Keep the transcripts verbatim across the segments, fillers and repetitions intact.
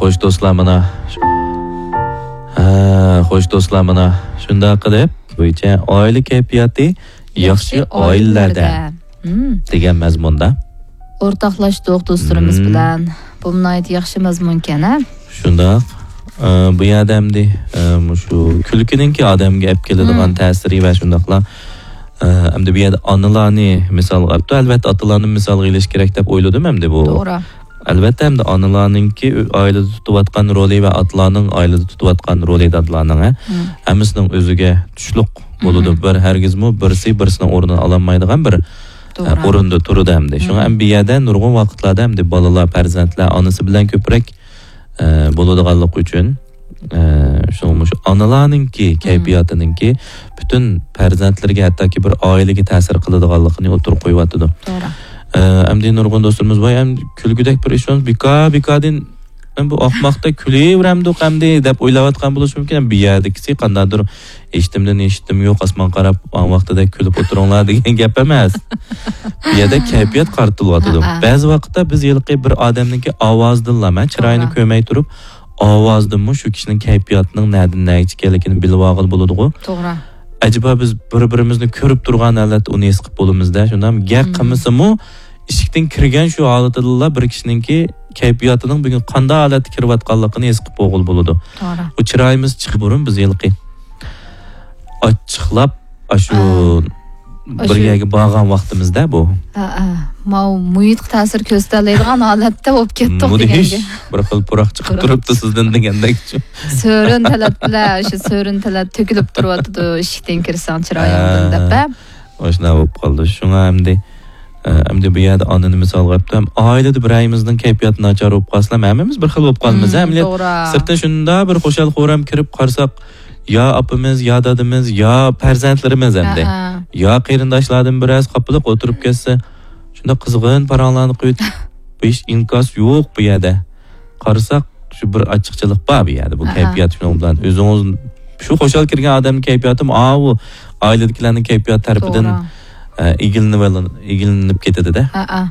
خوش دوستلار، مانا. ھە، خوش دوستلار، مانا. شۇنداق قىلىپ، بويىچە ئائىلە كەيپىياتى ياخشى ياخشى ئائىلىلەردە. ئائىلىلەردە. مم. دېگەن مەزمۇندا. ئورتاقلاشتۇق دوستلىرىمىز مم. بىلەن. بۇ ناھايىتى ياخشى مەزمۇنكەن، ھە؟ شۇنداق. ئە، بۇ يەردە ئەمدى، ئە، مۇشۇ كۈلكىنىڭكى ئادەمگە ئەپ كېلىدىغان مم. تەسىرى ۋە شۇنداقلا، ئە، ئەمدى بۇ يەردە ئانىلارنى مىسالغا ئاپتۇ. ئەلۋەتتە، ئاتىلارنى مىسالغا ئېلىش كېرەك دەپ ئويلىدىم ئەمدى بۇ. توغرا. ئەلۋەتتە، ئەمدى ئانىلارنىڭكى ئۆ-، ئائىلىدە تۇتۇۋاتقان رولى ۋە ئاتىلارنىڭ ئائىلىدە تۇتۇۋاتقان رولى، دادىلارنىڭ، ھە، مم. ھەممىسىنىڭ ئۆزىگە تۇشلۇق بولىدۇ. مم. بىر ھەرگىزمۇ بىرسى بىرسىنىڭ ئورنىنى ئالالمايدىغان بىر، توغرا. ئە، ئورۇندا تۇرىدۇ ئەمدى. شۇڭا مم. ھەم بۇ يەردە نۇرغۇن ۋاقىتلاردا ئەمدى بالىلار، پەرزەنتلەر ئانىسى بىلەن كۆپرەك، ئە، بولىدىغانلىقى ئۈچۈن، ئە، شۇڭا مۇشۇ ئانىلارنىڭكى مم. كەيپىياتىنىڭكى پۈتۈن پەرزەنتلىرىگە، ھەتتاكى بىر ئائىلىگە تەسىر قىلىدىغانلىقىنى ئوتتۇرىغا قويۇۋاتىدۇ. توغرا. ئە، ئەمدى نۇرغۇن دوستلىرىمىز، ۋاي، ئەمدى كۈلكىدەك بىر ئىش بولمىسا، بىكار، بىكاردىن، ئەم، بۇ ئاقماقتا كۈلۈۋېرەمدۇق ئەمدى دەپ ئويلاۋاتقان بولۇشى مۇمكىن. بۇ يەردىكىسى قانداقتۇر، ھېچنېمىدىن ھېچنېمە يوق، ئاسمانغا قاراپ، ھاڭ ۋاقتىدەك كۈلۈپ ئولتۇرۇڭلار دېگەن گەپ ئەمەس. بۇ يەردە كەيپىيات قارىتىلىۋاتىدۇ. ھە، ھە. بەزى ۋاقىتتا بىز ھېلىقى بىر ئادەمنىڭكى ئاۋازىدىنلا، مەن چىرايىنى توغرا. كۆرمەي تۇرۇپ، ئاۋازىدىنمۇ شۇ كىشىنىڭ كەيپىياتىنىڭ نەدىن نەگىچە ئىكەنلىكىنى بىلىۋالغىلى بولىدىغۇ. توغرا. ئەجەبا بىز بىر-بىرىمىزنى كۆرۈپ تۇرغان ھالەتتە ئۇنى ھېس قىلىپ بولىمىز-دە، شۇنداقمۇ؟ گەپ مم. قىلمىسىمۇ، ئىشىكتىن كىرگەن شۇ ھالىتىدىلا بىر كىشىنىڭكى كەيپىياتىنىڭ بۈگۈن قانداق ھالەتتە كىرىۋاتقانلىقىنى ھېس قىلىپ بولغىلى بولىدۇ. توغرا. بۇ چىرايىمىز چىقىپ بۇرۇن بىز ھېلىقى ئاچچىقلاپ، ئاشۇ ئا. بىر ئاشۇ يەرگە بارغان ۋاقتىمىزدا بۇ. ھە، ھە. ماۋۇ مۇھىتقا تەسىر كۆرسىتەلەيدىغان ھالەتتە بولۇپ كەتتۇق مۇدھىش. دېگەنگە. بىر خىل پۇراق چىقىپ پۇراق. تۇرۇپتۇ سىزدىن دېگەندەك. سۆرۈن تەلەتلەر، شۇ سۆرۈن تەلەت تۆكۈلۈپ تۇرۇۋاتىدۇ، ئىشىكتىن كىرسەڭ چىرايىڭدىن ھە. دەپ، ھە؟ ئاشۇنداق بولۇپ قالدى. شۇڭا ئەمدى، ئە، ئەمدى بۇ يەردە ئانىنى مىسالغا ئېلىپتۇ. ھەم ئائىلىدە بىرەيىمىزنىڭ كەيپىياتى ناچار بولۇپ قالسىلا، ھەممىمىز بىر خىل بولۇپ قالىمىز، مم، ھە، ئەمدى توغرا. سىرتتىن شۇنداق بىر خۇشال-خۇرام كىرىپ قارىساق، يا ئاپىمىز، يا دادىمىز، يا پەرزەنتلىرىمىز ئەمدى. ھە، ھە. يا قېرىنداشلاردىن بىرەرسى قاپىلىق ئولتۇرۇپ كەتسە، شۇنداق قىزغىن پاراڭلارنى قىلىۋېتىپ، ھېچ ئىنكاس يوق بۇ يەردە. قارىساق، شۇ بىر ئاچچىقچىلىق بار بۇ يەردە. بۇ ھە، ھە. كەيپىيات شۇنىڭ بىلەن ئۆزىڭىز، شۇ خۇشال كىرگەن ئادەمنىڭ كەيپىياتىمۇ ئاۋۇ ئائىلىدىكىلەرنىڭ كەيپىياتى تەرىپىدىن، توغرا. ئە، ئىگىلىنىۋېلىن-، ئىگىلىنىپ كېتىدۇ-دە. ھە، ھە.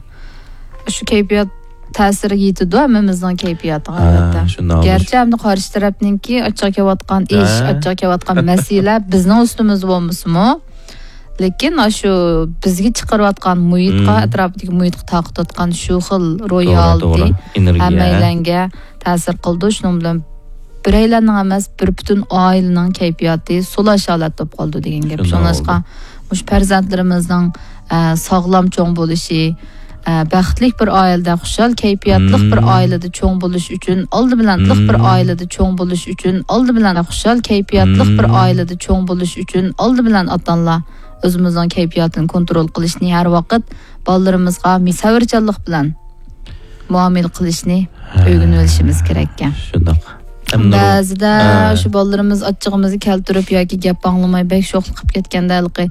شۇ كەيپىيات تەسىرى يېتىدۇ ھەممىمىزنىڭ كەيپىياتىغا، ھە، ئەلۋەتتە. شۇنداق. گەرچە ئەمدى قارشى تەرەپنىڭكى ئاچچىق كېلىۋاتقان ئىش، ھە. ئاچچىق كېلىۋاتقان مەسىلە بىزنىڭ ئۈستىمىزدە بولمىسىمۇ، لېكىن ئاشۇ بىزگە چىقىرىۋاتقان مۇھىتقا، مم. ئەتراپىدىكى مۇھىتقا تارقىتىۋاتقان شۇ خىل روھىي توغرا، ھالىتى توغرا. ئېنېرگىيە. ھەممەيلەنگە تەسىر قىلىدۇ. شۇنىڭ بىلەن بىرەيلەننىڭ ئەمەس، بىر پۈتۈن ئائىلىنىڭ كەيپىياتى سۇلاش ھالەتتە بولۇپ قالىدۇ دېگەن گەپ. شۇنداق شۇڭلاشقا بولىدۇ. مۇشۇ پەرزەنتلىرىمىزنىڭ، ئە، ساغلام چوڭ بولۇشى، ئە، بەختلىك بىر ئائىلىدە، خۇشال كەيپىياتلىق بىر مم. ئائىلىدە چوڭ بولۇش ئۈچۈن، ئالدى بىلەن، بىر مم. ئائىلىدە چوڭ بولۇش ئۈچۈن، ئالدى بىلەن، خۇشال كەيپىياتلىق بىر مم. ئائىلىدە چوڭ بولۇش ئۈچۈن، ئالدى بىلەن ئاتا-ئانىلار ئۆزىمىزنىڭ كەيپىياتىنى كونترول قىلىشنى ھەر ۋاقىت بالىلىرىمىزغا مې-، سەۋرچانلىق بىلەن مۇئامىلە قىلىشنى ھە. ئۆگىنىۋېلىشىمىز كېرەككەن. شۇنداق. ھەم نۇر-، بەزىدە ھە. شۇ بالىلىرىمىز ئاچچىقىمىزنى كەلتۈرۈپ ياكى گەپ ئاڭلىماي بەك شوخلۇق قىلىپ كەتكەندە ھېلىقى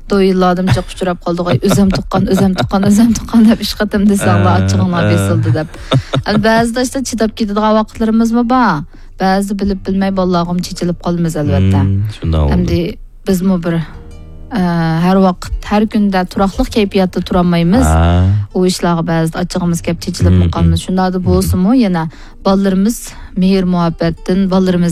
دويىنلاردىمۇ جىق ئۇچراپ قالدىغۇ، ئۆزۈم تۇغقان، ئۆزۈم تۇغقان، ئۆزۈم تۇغقان دەپ ئىش قېتىم دېسەڭلار ھە. ئاچچىقىڭلار ھە. بېسىلدى دەپ. ئەمدى بەزىدە ئىشتا چىداپ كېتىدىغان ۋاقىتلىرىمىزمۇ بار. بەزىدە بىلىپ بىلمەي بالىلارغىمۇ چېچىلىپ قالىمىز ئەلۋەتتە. مم، شۇنداق بولىدۇ. ئەمدى بىزمۇ بىر، ئە، ھەر ۋاقىت، ھەر كۈندە تۇراقلىق كەيپىياتتا تۇرالمايمىز. ھە. ئۇ ئىشلارغا بەزىدە ئاچچىقىمىز كەپ چېچىلىپمۇ مم، قالىمىز. مم. شۇنداقتا مم. بولسىمۇ يەنە بالىلىرىمىز مېھىر-مۇھەببەتتىن، بالىلىرىمىز